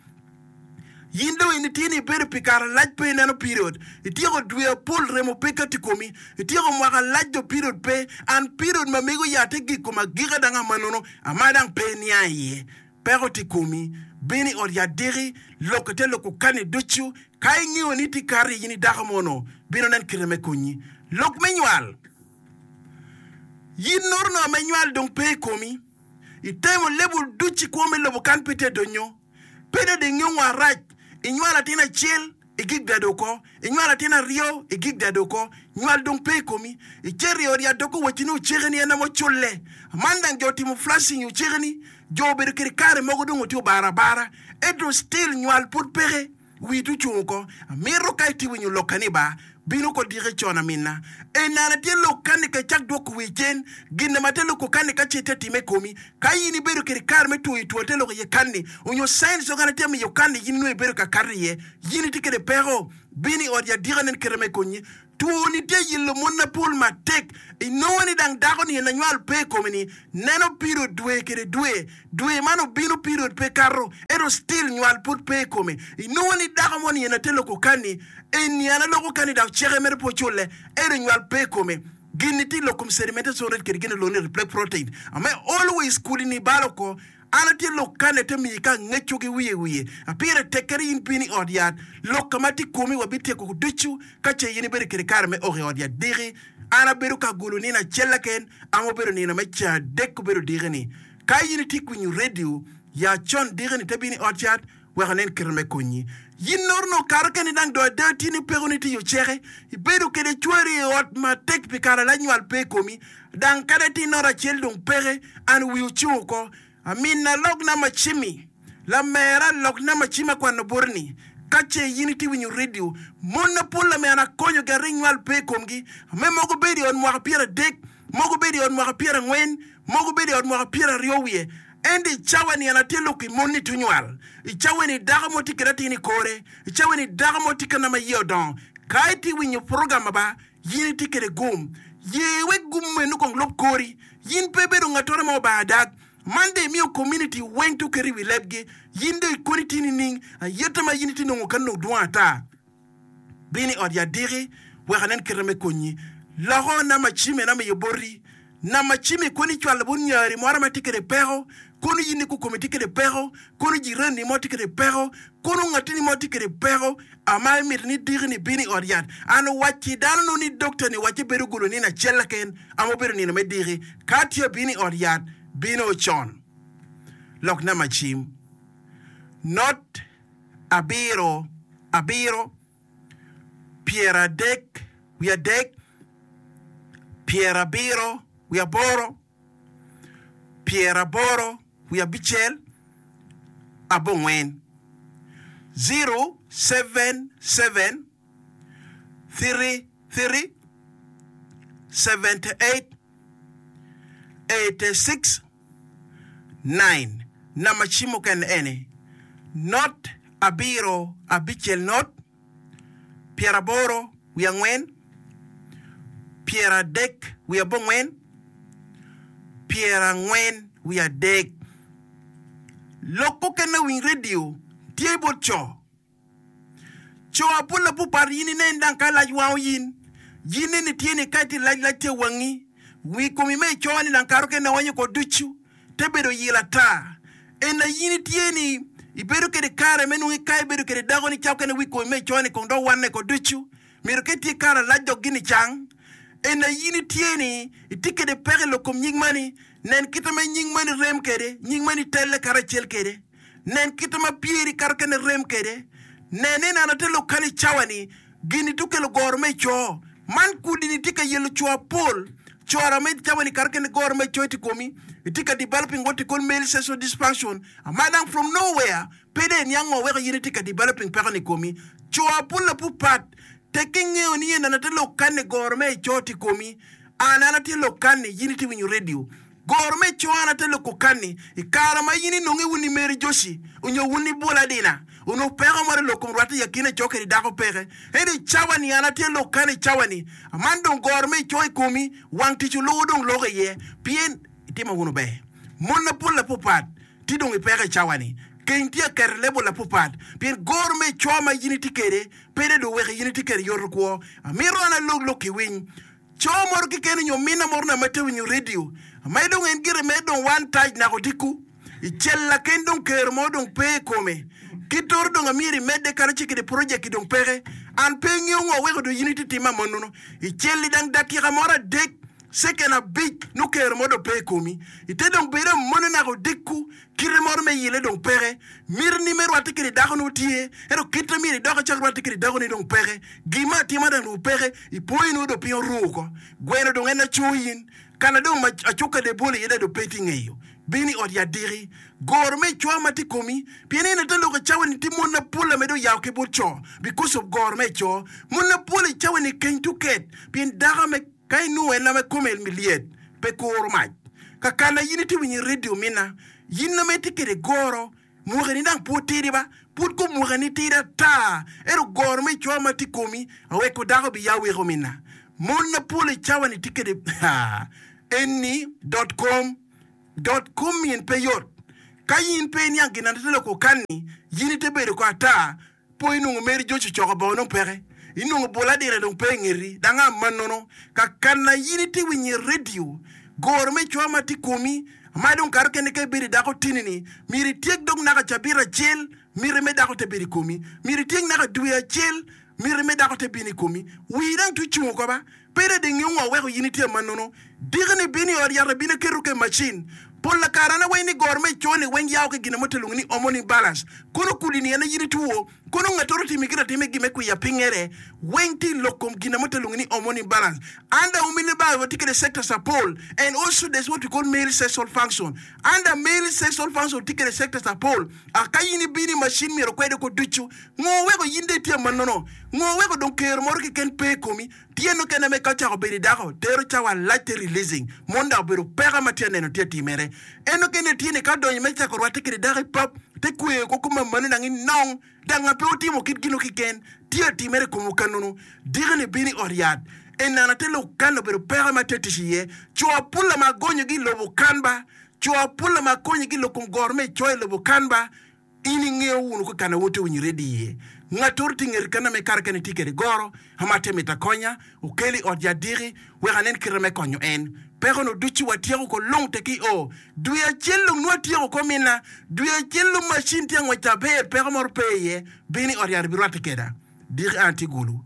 Yin dong in itye ni ibedo pi kare lac pe ineno period, ityeko dwe apol remo pe kati komi, ityeko mwaka lac dong period pe, and period ma mego yat-te gik kom agika dang amanono ama dang pe iniang iye. Peko tye komi, bino i ot yat diki, loko te loko kani ducu, ka ingeyo ni tye kato i in i dako mono, bino nen kite me konyi. Lok me nywal. Yin norono me nywal dong pe i komi. Itemo lebul ducu i kwo me lobo kan pe tye donyo. Pe dong ingeyo ngo arac. Inywalo atin acel, igik dado oko. Inywalo atin aryo, igik dado oko. Nywal dong pe i komi. Icito i ot yat dok owacci ni oceke-ni en aye oculle. Man dang jo otimo flashing i oceke-ni. Jo obedo kede kare mogo dong otye obaro abara. Ento still nywal pud peke. Wii to ocung oko. Amito ka itye winyo lokka ni ba, bino oko diki con aminna. Enana tye lok kani ka icak dwoko wii cen, ginne ma te loko kani ka ce te time i komi. Ka in ibedo kede kare me twoyo two te loko iye kani, onyo signs okene tye miyo kani in nongo ibedo ka kato iye, yin itye kede peko, bino i ot yat diki anen kite me konyi. Two-ni tye yelo mon mapol matek. Inongo ni dang dako-ni en anywal pe i kome-ni, neno period dwe kede dwe. Dwe man obino period pe kato, ento still nywal pud pe i kome. Inongo ni dako mo-ni en ate loko kani, eni an aloko kani dok ceke mere pe oculle, ento nywal pe i kome. Gin-ni tye i lok kom sedimentation rate kede gin olongo ni reflect protein. Ame always kudi-ni balo oko. An atye lok kane te miyi ka angeco ki wiye wiye. Apire tek kadi in piny i ot yat. Lok ka ma tye komi wabityeko ducu ka ce in ibedo kede kare me ok i ot yat diki. An abedo ka golo nino acel laken ama obedo nino me ceng adek obedo diki ni. Ka in itye kwinyo radio ya con diki ni te bino i ot yat wek anen kite me konyi. Yin noro nongo kato keni dang do ada tye ni peko ni tye i oceke. Ibedo kede cwari i ot matek pi kare alac nywal pe i komi. Dang kadi atir nota acel dong peke, an wiya ocung oko. Aminna lok namba cimmi, lamera lok namba cim akwano boti ni, ka ce in itye winyo redio, mon mapol lamera akonyogi aring nywal pe i komgi, ame mogo bedo i ot mwaka pyeradek, mogo bedo i ot mwaka pyerangwen, mogo bedo i ot mwaka pyeraryo wiye. Ento i cawa-ni an atye lok i mon ni tunywal. I cawa-ni dako mo tye kede atin i kore. I cawa-ni dako mo tye ka ma iye odongo. Ka itye winyo program ba, Yin itye kwede gum. Ye wek gum meno kong lub kori. Yin pe ibedo ngattore ma obanga dag. Man dong imiyo community weng to keto i wi lebgi. Yin dong ikoni tye nining? Ayeta ma yin itye nongo kany dong dwong ata. Bin i ot yat diki wek anen kite me konyi. Loko namba cim en amiyo boti. Namba cim i koni icwalo bot nyari moro ma tye kwede peko, kono in ikokomi tye kwede peko, kono jirani mo tye kwede peko, kono ngatini mo tye kwede peko, ama imito ni diki ni bin i ot yat. An owacci dano nongo ni dokta ni wacce bedo golo nino acel keken ama obedo nino me diki. Ka tye abino i ot yat, bino con. Lok namba cim, not abiro abiro. pyeradek wiye adek, pyerabiro wiye aboro, pyeraboro wiye abicel, abongwen. Zero, seven, seven, three, three, 78, 86, 9. Namba cim mukene eni, not abiro abicel not, pyeraboro wiye angwen, pyeradek wiye abongwen, pyerangwen wiye adek. Lok mukene winy redio tye bot co. Co apol apupat in inen dang ka lac wango yin. Yin neni tye ni ka itye lac lac tye wangi. Wi komi me ico ni dang kare okene wanyo ko ducu te bedo yil ata. En na yin itye ni ibedo kede kare me nongo ka ibedo kede dako ni ca okene wi komi me ico ni kong dok wanne ko ducu. Myero ka itye kare alac dok gin icang. En na yin itye ni itye kede peko i lok kom nying mani. Nen kite ma nying mani rem kede, nying mani telle karacel kede. Nen kite ma pyeri kato kene rem kwede. Nen ni nano te lok kany i cawa-ni, gin-ni tye okelo goro me co. Man kudi-ni tye ka yelo co apol. Cora me cawa-ni kato kene goro me co tye i komi. Itye ka developing what we call male sexual dysfunction ma dang from nowhere pe dong iniang ngo weko in itye ka developing peko ni i komi. Co apol apupat tek ki ingeyo ni eni ate lok kanni goro me ico tye i komi. An an atye lok kanni in itye winyo radio. Goro me ico an ate loko kanni i kare ma in inonge wun i Mary Joshi onyo wun i Bula Dina onongo peko mo lok kom rwate i akina ico kede dako peke. Ento i cawa ni an atye lok kanni i cawa ni aman dong goro me ico i komi Wang tic oluwo dong loko iye pien itimo wunu ber. Mon mapol lapupat tye dong i peko i cawa-ni. Keny tye aketo lebol lapupat pien goro me co ma in itye kwede pe dong weko in itye kwede yoto kwo. Amito an alok lok ki winy co moro keken nyo minna moro na ma tye winyo redio ma dong en gire mere dong one touch naka odiko i cel laken dong kero mo dong pe i kome. Kit toro dong amyero imedde kadi ci kede project dong peke. An pe ingeyo ngo weko dong in itye time amanunu. I cel-li dang dakika moro adek, ceken abic nongo kero mo dong pe i komi. Ite dong bedo amone naka odiko, kite moro me yile dong peke. Mitini me rwatte kede dako nongo tye, ento kite myero idok icak rwatte kede dakoni dong peke. Gin me atima dang dong peke, ipoyi nongo dong piny oru oko. Gweno dong en aco in, kana dong ma acuka de bolo iye dong pe itye ngeyo. Bin i ot yat diki, goro me icwa ma tye i komi, pien in ite lok i cawa-ni tye mon mapol a medo yao ki bot co because of goro me ico. Mon mapol i cawa-ni keny tuket pien dako me ka inongo en ame kome lyet pe kuro mac. Kakana in itye winyo i radio mina, in ame itye kede goro mwakani dang pud tidi ba, pud kom mwakani tidi ata ento goro me icwa ma tye i komi aweko dako bi ya weko mina. Mon mapol i cawa-ni tye kede eni dot kom. Dot kom in pe yot. Ka in pe iniang gin ate loko kanni, yin ite bedo ko ata, po inongo meri joc ocoko bongo dong peke. Inongo bol adira dong pe ingeti, dang amannono. Ka kanna yin ite winyo i radio, goro me cwa ma tye komi, ma dong kato kene ka ibedo i dako tini-ni, myero ityek dog naka cabit acel, miti me dako te bedo i komi. Myero ityek naka dwe acel, miti me dako te bino i komi. Wii dang tye ocung oko ba. Pe dong ingeyo ngo weko in itye amannono. Diki-ni bino i ot yat abino aketo ke macin. Pol lakara an aweny ni goro me ico ni weng yao ki gina mo te lwongo ni hormone imbalance. Kono kudi ni en aye in itwo, kono ngatoro otimi gin atima i gin me kwiya pingere weng tye i lok kom gina mo te lwongo ni hormone imbalance. Under women ba watye kede sectors apol and also there's what we call male sexual function. Under male sexual function tye kede sectors apol. Aka in ibino i macin myero okwede ko ducu. Ngo weko in dong itye amannono? Ngo weko dong kero moro keken pe i komi? Tyen mukene me ka ocako bedo i dako, tero cawa lac te releasing mon dok obedo peko ma tye aneno tye atimere. En mukene tye ni ka odonyo me cako rwatte kede dako i pub, te kweyo ko kome malo dang inong dang ma pe otimo kit gino kiken tye atimere i komwu kanunu. Diki ni bino i ot yat. Enana te lok kan obedo peko ma tye tic iye. Co apola ma agonyogi i lobo kan ba. Co apola ma akonyogi i lok kom goro me icoyo i lobo kan ba. In ingeyo wunu ka kana woti winyo redio iye. Ngatoro tye ingeti kana me kare kene tye kede goro ama te mito akonya, okel i ot yat diki wek anen kite me konyo en. Peko nu ducu watyeko ko lung te ki o. Dwe acel lung nwo atyeko ko minna. Dwe acel lung macin tye angwec aber peko moro pe iye. Bin i ot yat ibirwatte keda. Diki an atye gulu.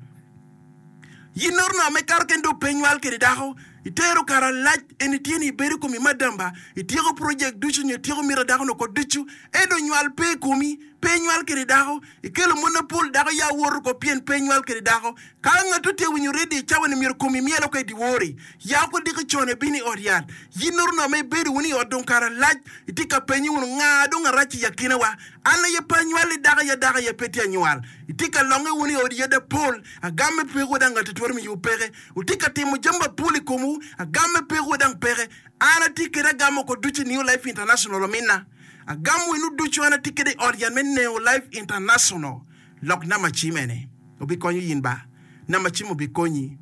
Yin noro nongo me kato keni dong pe inywal kede dako, itero kare alac eni tye ni ibedo komi madam ba, ityeko project ducu nyo ityeko mita dako ni oko ducu, ento nywal pe ikomi, pe inywal kede dako, ikelo mon mapol dako ya woto oko pien pe inywal kede dako. Ka ngatto tye winyo radio i cawa ni myero komi myel oko i dyewor-ri, ya oko diki con ibino i ot yat. Yin noro nongo ma ibedo wunu i ot dong kare alac, itye ka penye wunu nga dong arac i akina wa? An aye pe anywalli dako aye dako aye pe tye anywal. Itye ka longe wunu i odi yadi apol, agamme pekwu dang ngati twero miyowu peke. Wutye ka timo jami mapol i komwu, agamme pekwu dang peke. An atye kede agamo oko ducu i New Life International ominna. Agamo wunu ducu an atye kede i ot yat me New Life International. Lok namba cim ene obikonyo yin ba. Namba cim obikonyi.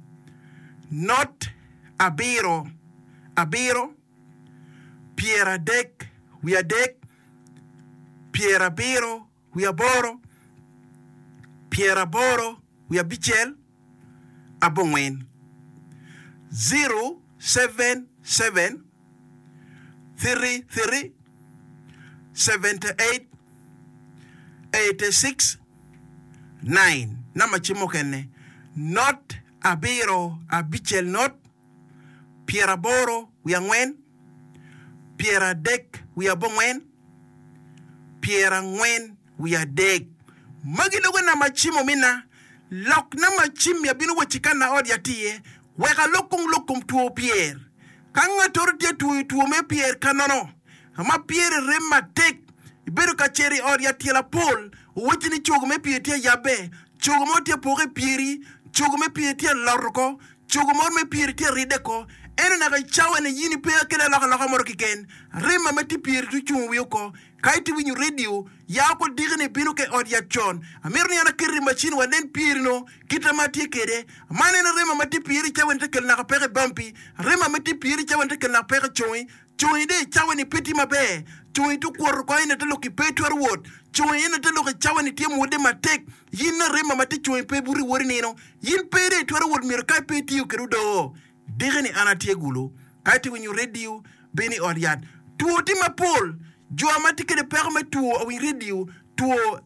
Not abiro abiro pyeradek wiadek. pyerabiro wiye aboro, pyeraboro wiye abicel, abongwen, 077 33 78 86 9 Namba cim mukene, not abiro abicel not, pyeraboro wiye angwen, pyeradek wiye abongwen, pyerangwen wiye adek. Magi lugo nama cim omina, lok nama cim-mi abino wacci ka na ot yat iye, wek alok kong lok kom two pyer. Ka ngattoro tye twoyo two me pyer ka nono, ma pyere rem matek, ibedo ka cito i ot yat tyelo apol, owacci ni cogo me pyer tye ayabbe, cogo mo tye apoka i pyeri, cogo me pyer tye alot oko, cogo mo me pyeri tye aridde oko. Ento naka i cawa-ni in ipe akelo alokaloka mo keken. Rema ma tye i pyeri tye ocung wiye oko. Ka itye winyo redio, ya oko diki-ni ibino ka i ot yat con. Amito ni an aket i macin wanen pyeri-nu kite ma atye kwede. Man en arema ma tye pyeri i cawa-ni te kelo naka peko i bampi. Arema ma tye pyeri i cawa-ni te kelo naka peko i congi. Congi dong i cawa-ni pe tye maber. Congi tye okwoto oko ento te lok ki pe itwero wot. Congi ento te lok i cawa-ni tye mwodde matek. In arema ma tye congi pe buto iwot i nino. In pe dong itwero wot myero ka pe itiyo kwede odoo. Diki-ni an atye gulu. Ka itye winyo redio, bin i ot yat. Two tye mapol. Jo ma tye kwede peko me two awiny redio, two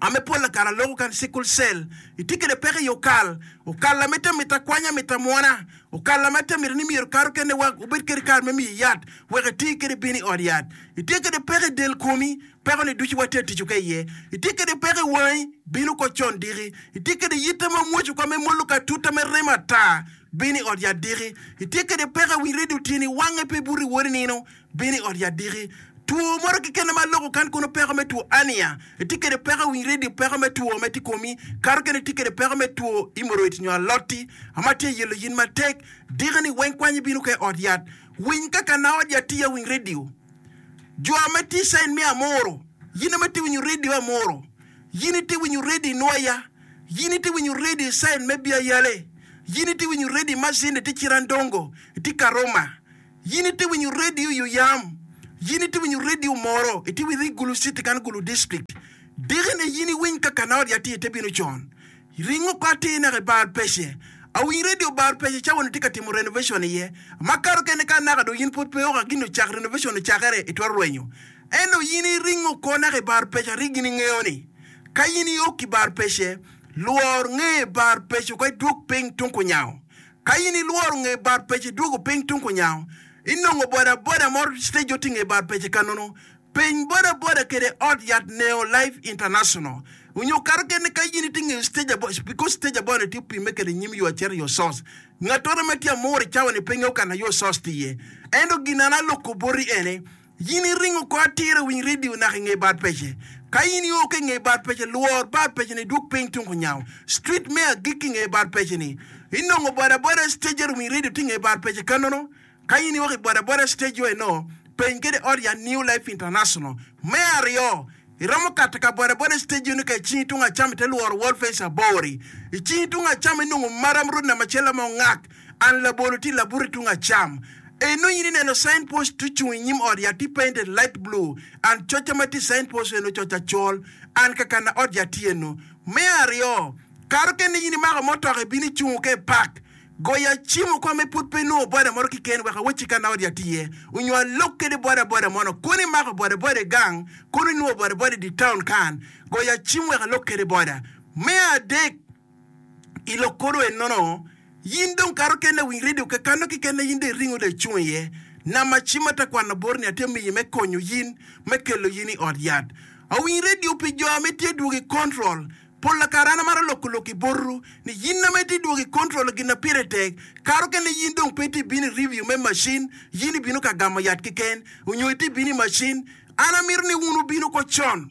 ame pol lakara loko kan sickle cell. Itye kwede peko i okal. Okal ame te mito akwanya mito amwona. Okal ame te mito ni myero kato kene wa obed kwede kare me miyi yat wek iti kwede bin i ot yat. Itye kwede peko i del komi, peko ni ducu watye tic ka iye. Itye kwede peko i wangi, bin oko con diki. Itye kwede yitte ma mwoc oko me molo ka tuta me remo ata, bin i ot yat diki. Itye kwede peko i wi redio tyeni wange pe buto iwot i nino, bin i ot yat diki. Two moro keken ma aloko kan kono peko me two ania. Itye kwede peko i wi redio peko me two ma tye i komi, kato kene itye kwede peko me two hemorrhoids nyo alot-ti ma tye yelo yin matek. Diki ni weng kwany ibino ka i ot yat. Winy kaka na ot yat tiya winy redio. Jo ma tye i cain me Amuru, yin ma itye winyo redio Amuru, yin itye winyo redio i Nwoya, yin itye winyo redio i cain me Biayale, yin itye winyo redio i Masindi itye Cirandongo, itye Karuma, yin itye winyo redio i Oyam, yin itye winyo redio Omoro, itye winyo i Gulu City kan Gulu District. Diki-ni yin iwiny ka kana ot yat tye ite bino con. Ringo oko atir naka i bar pece. Awiny radio bar pece cawa ni tye ka timo renovation iye. Makato kene ka naka dong in pwod pe oko gin ocak renovation ocakere itwero rwenyo. Ento in iringo oko naka i bar pece ari gin ingeyo ni ka in iok i bar pece lwor nge bar pece oko idwog piny tung kunyango. Ka in ilworo nge bar pece idwogo piny tung kunyango inongo boda boda moro stage otinge bar pece kanono Peny boda boda kede ot yat Neo Life International onyo kato kene ka in itye ngeyo stage abo because stage abo ni tye opime kede nyim yo acito yo source ngatoro ma tye amur i cawa ni pe ngeyo kana yo source tye iye ento gin an aloko boti ene in iringo ko atir i winy radio naka inge bad pece ka in io ki inge bad pece lwor bad pece ni idwog piny tung kunyango street me agikki inge bad pece ni inongo boda boda stage winy radio tye inge bad pece kanono Ka in iwok i bodaboda stage yo eno, peny kede ot ya New Life International. Me aryo, iromo kato ka bodaboda stage yo ni ka icingi tung acam ite lworo wall fence abori. Icingi tung acam inongo maram road namba acel ma ongak and labolo tye labuti tung acam. Eno in ineno sign post tye ocung inyim ot yat tye painted light blue and coca ma tye i sign post eno coc acol and kakana ot yat tye eno. Me aryo, kato kene in imako motoka ibino icungo ka i park. Goya cim oko me pud pe inongo boda moro kiken wek awacci ka na odi atye iye onyo alok kede boda boda mono kono imako boda boda i gang kono inongo boda boda i di town kan goya cim wek alok kede boda. Me adek i lok kono enono yin dong kato kene winy radio kakano kikene yin dong iringo dong icung iye nama cim ata kwano boti ni atye miyi me konyo yin me kelo yin i ot yat. Awiny radio pi jo ame tye dwogo i control Pol kare an amaro loko lok i botwu ni yin ma itye dwogo i control gin na pire tek kato kene yin dong pe itye bino i review me machine yin ibino ka gamo yat keken onyo itye bino i machine an amito ni wun wubin oko con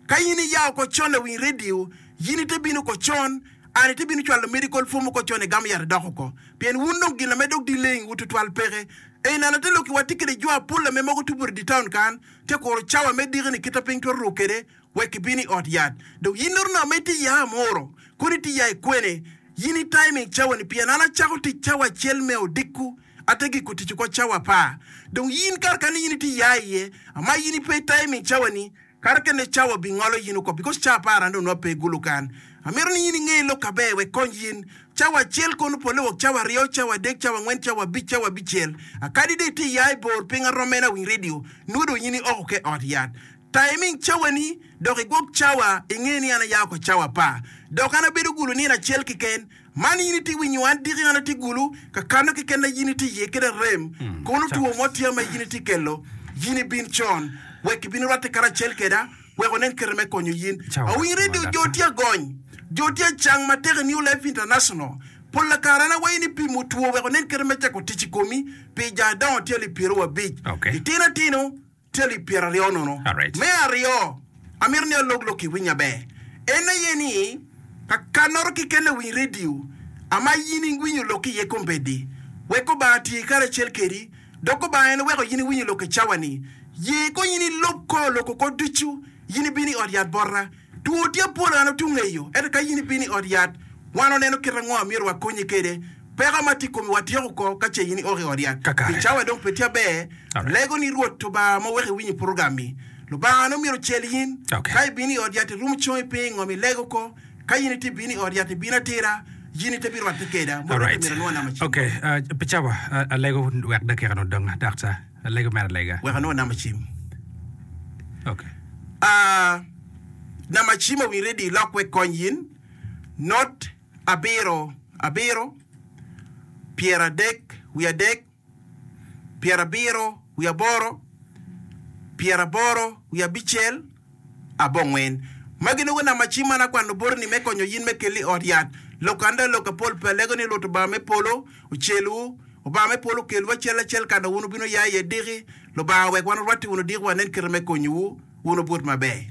ka yin iya oko con lawiny radio yin ite bino oko con an ite bino cwalo medical form oko con igamo yat idok oko pien wun dong gin ame dok delaying wu tutwal peke eni an ate lok i wa tye kede jo apol ame mogo tye buto i di town kan tye kuro cawa me diki ni kita piny twero ruk kede wek ibin i ot yat. Dong in nongo ma itye ya amuro, kono itye ya i kwene, in i timing cawa ni pien an acako tic cawa acel me odiko ate giko tic oko cawa apar. Dong in kare kani in itye ya iye ama in ipe i timing cawa ni kare kene cawa bi ngolo in oko because cawa apar an dong nongo ape gulu kan. Amito ni in inge lok aber wek kony in. Cawa acel kono pole wok cawa aryo, cawa adek, cawa angwen, cawa abic, cawa abicel. Akadi dong itye ya i bor piny arom meno awiny radio nongo dong in ioko ke ot yat. Taiming cawani dok igwok cawa inge ni an aya oko cawa apar. Dok an abedo gulu nino acel keken. Man in itye winyo an diki an atye gulu ka kano keken na yin itye iye kede arem. Kono two mo tye ma yin itye kelo, yin ibin con wek ibin irwatte karacel keda wek onen kite me konyo yin. Awiny radio jo tye agony, jo tye acang matek i New Life International. Pol kare an awaco ni pimo two wek onen kite me cako tic i komi pi jo adongo tye alip pyerowaabic, litino atino tye alip pyeraryo nono. Me aryo, amito ni alok lok iwiny aber. En aye ni, ka kanoro keken lawiny redio ama in iwinyo lok iye kombeddi, wek Obanga tii karacel kedi, dok Obanga en oweko in iwinyo lok i cawa-ni, ye kong in ilub kor lok oko ducu, in ibino i ot yat bota. Two tye pol an otung eyo, ento ka in ibino i ot yat, wan waneno kit ango ma myero wakonyi kwede. Peko ma tye i komi watyeko oko ka ce in iok i ot yat. Pi cawa dong pe tye aber, alego ni Rwot Lubanga ma oweko iwinyo purogram-mi, Lubanga nongo myero ocel in. Ka ibino i ot yat irumo congi piny i ngom ilego oko. Ka in itye bino i ot yat ibino atira, in ite birwatte keda. Mot Alright. myero anwo namba cim. Okay, uh, pi cawa, uh, alego wek dakika-ni odong, daktar. Alego mere alega. Wek anwo namba cim. Okay. Ah, namba cim owiny ready ilok wek kony in. Not abiro abiro, pyeradek wiye adek, pyerabiro wiye aboro, pyeraboro wiye abicel, abongwen. Magi nongo namba cim man akwano boti ni me konyo yin me keli i ot yat. Lok anda lok apol pe alego ni Rwot Obanga me polo ocelwu. Obanga me polo okelwu acel acel ka dong wun wubino ya iye diki. Lubanga owek wan orwatte wunu diki wanen kite me konyowu. Wun wubut maber.